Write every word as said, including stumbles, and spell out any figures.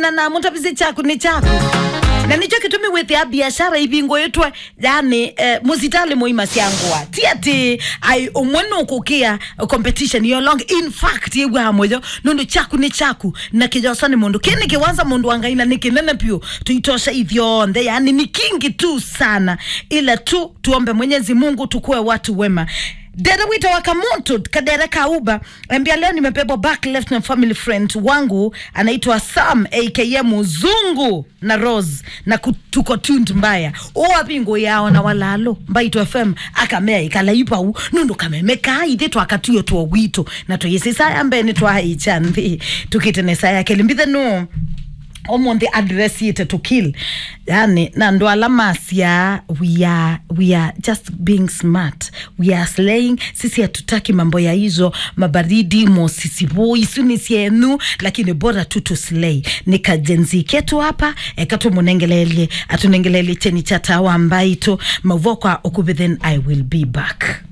Na, na mũtavisye kyaku nĩ kyaku. Na nĩkyo kĩtumi wĩthĩa biashara ivingũĩtwe, yani, eh, mũsitalĩ mũima sya ngũa. Ti atĩ ai ũmwe nũkũkĩa competition yo long. In fact, yĩw'aa mũyo, nũndũ kyaku nĩ kyaku, na kĩyosa nĩ mũndũ. Kĩ nĩ kĩwanza mũndũ wa Ngai na nĩ kĩnene piũ. Tũitosha ithyonthe, yani nĩ kingi tu sana. Ila tu tuombe Mwenyezi Mungu tukue watu wema. Dere wita wa Kamuntu, kadere kauba, ambia leo nimebebwa back left na family friend wangu, anaitwa Sam, A K A Mzungu na Rose, na ku-, tuko tuned mbaya. Oa bingo yao na walalo, Mbaitũ F M, akamea ikala ipau, nũndũ kameme kaa ithe twakatuyo tuo witũ, na tuyisisa ya mbene twa icha nthi, tukite nesa ya kelimbithe no. Omonde address yite to kill. Yani, na andũ ala masya, we are, we are just being smart. We are slaying. Sisi hatutaki mambo ya hizo mabaridi, mosisivo, isu ni syenu, lakini bora tu tu slay. Ni ka Gen Z ketu hapa, eka tũmũnengeleelye, atũnengeleelye cheni cha tawa Mbaitũ, mauvo kwa ũkuvĩ, then I will be back.